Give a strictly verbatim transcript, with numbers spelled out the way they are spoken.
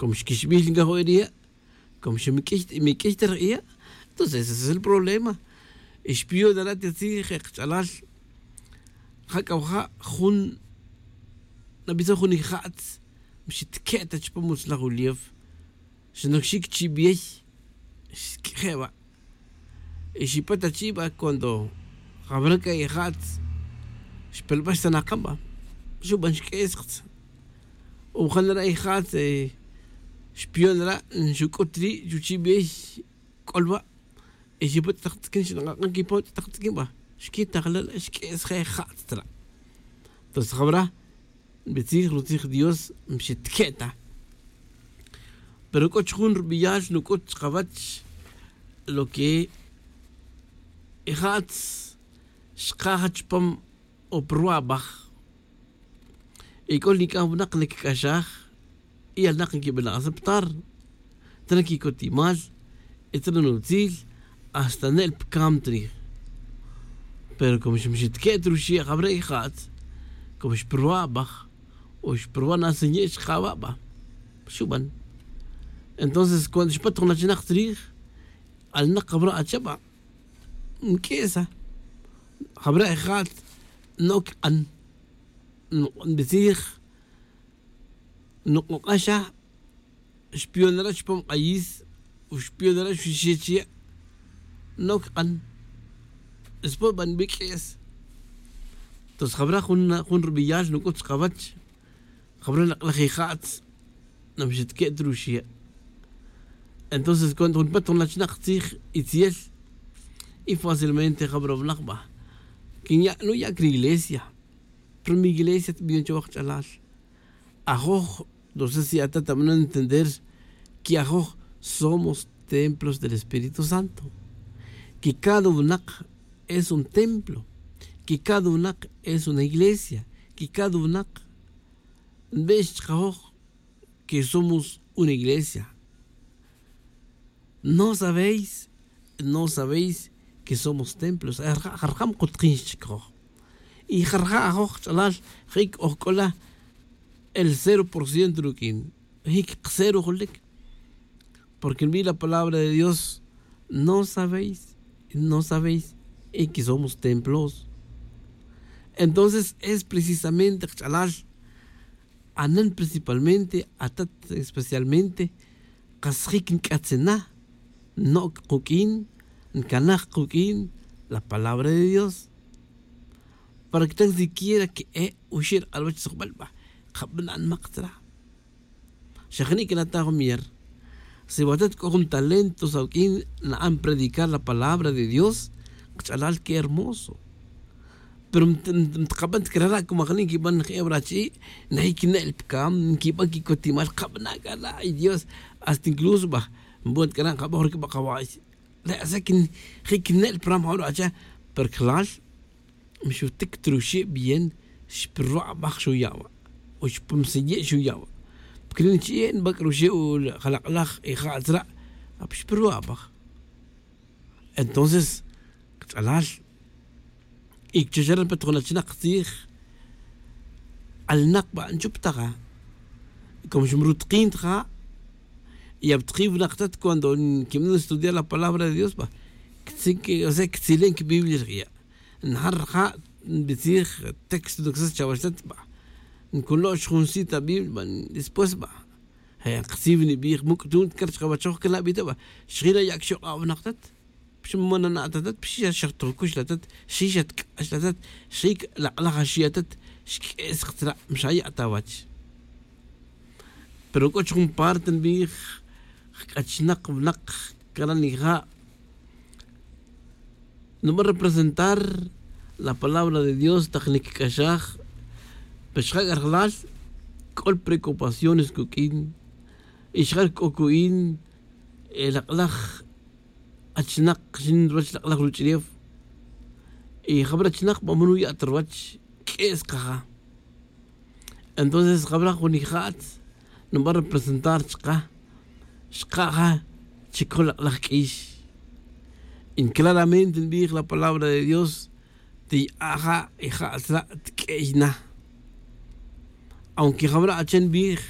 Como xquixbil ncajoj e riya', como xmiq'uix ta ri iya'. Entonces ese es el problema. Y xpiyonera' ti tzij e kach'alal. Ja c'a waja' jun nabisaj jun ija'tz, mxitque' ta chupam utzlaj uliew. Xnoc xic chi' biyey xq'uije' wa'. Y xipat achi' ba cuando jabra c'a ija'tz xpelbax ta nakam ba, xuban xq'uesktz. O janera ija'tz xpiyonera' nxuc'ut ri' chuchi' biyey c'ol wa'. Y xipat tak tz'iquin xnak'ak'an quipa tak tz'iquin ba, xquitajlal xq'uesje' ija'tz tra'. Entonces jabra nbitzij rutzij dios, mxitque' ta. Pero c'o chujun rubeyal nuc'ut chkawech lo que ija'tz xkaja chupam o pa ruwa' abaj. Y c'o nic'aj winak nquic'axaj y alnak nquibana' aceptar. Tra quicotimal y tra nutzil, hasta ne'l pa cam trij. Pero como xmxitque' ta ruxi' jabra' ija'tz, como xparwa' abaj o xparwa' nasenye' xkawa' ba, xuban. Entonces cuando xpat jun achinak tzrij, alnak jabra' acha' ba, nq'uesa. Jabra' ija'tz, n'oc k'an. Nbitzij, nuk'ok'axa. Xpiyonera' chupam k'ayis, o xpiyonera' xuxiche' chi ya', n'oc k'an. Xpon ba nbiq'ues. Entonces jabra' jun rubeyal nuc'ut chkawech, jabra' lak'laj ija'tz, namxitque' ta ruxi' ya'. Entonces cuando jun pat jun achinak tzij itzel, y fácilmente jabra' winak ba, quinya' nuya' cri iglesia. Pero mi iglesia tbiyon chawaj ch'alal. Ajoj, no sé si atat abana' entender que ajoj somos templos del espíritu santo, que cada winak es un templo, que cada winak es una iglesia, que cada winak nbe'ex chkajoj que somos una iglesia. No sabéis, no sabéis que somos templos. Jarja' jarja' mkutkin xchikoj. Y jarja' ajoj ch'alal, jic ojc'ola el cero por ciento ruq'uin, jic cero jolic. Porque nbi la palabra de dios, no sabéis, no sabéis y que somos templos. Entonces es precisamente kch'alal, anan principalmente atat, especialmente kas jic nc'atzina, noc' kuq'uin, ncanaj kuq'uin la palabra de dios. Para que tan siquiera que e' uxi' rk'alwach tzujbal ba, kabana' nmak tzra'. Xa jani' que nata' jun miyer, si watat c'o jun talento sa' uq'uin na'an predicar la palabra de dios, kch'alal que hermoso. Pero mtkaban ta crara' como ajani' nquiban je' warachi'i, najic ne'l pa cam nquiban quicotimal kabana' c'a la' ay dios. Hasta incluso ba, nbon ta c'ara' nkaboj ruc'aba' kawa'y. Re' asa que jic ne'l pa ram jawaracha'. Pero clal, mixutic ta ruxi' bien, xpa ruwa' abaj xuya' wa', o xpa msiye' xuya' wa'. Porque ri' nchi'e' nbac'ruxe' u jalak'laj ija' tzra', apa xpa ruwa' abaj. Entonces kch'alal, y chuxaran pa ta jun achinak tzij, alnak ba nchuptaja. Como xmrutkin ta ja', y aptkin winak tat cuando nquiban estudiar la palabra de dios ba, quitzin que o sea quitzilen quibiblia rija'. Njar rija', nbitzij texto ndocsas chawach tat ba, nculo'x jun cita biblia ba, después ba je' nkasiw nibij muc' tun car chkawachoj cana' bi ta ba. Xjira ya' cxok'a' winak tat, xmana na' ta tat, xija' xajtojcux la tat, xija' xatc'ax la tat, xija' lak'laj axi' atat, xq'ues ktzra', mxaya' ta wach. Pero c'o chujun parte nbij, jc'achnak winak cana' nija', nuban representar la palabra de dios tak nic'axaj. Pe xja' c'a rajlal, c'o preocupaciones cuq'uin, y xja' c'o cu'in lak'laj achinak xin ruwach lak'laj ruch'ulef. Y jabra' achinak ba man nuya' ta ruwach, q'ues kaja. Entonces jabra' jun ija'tz nuban representar chka, xka' ja chicoj lak'laj q'uix. Y claramente nbij la palabra de dios, tiya'a' ja ija'tz ra' tq'uey na. Aunque jabra' achen nbij,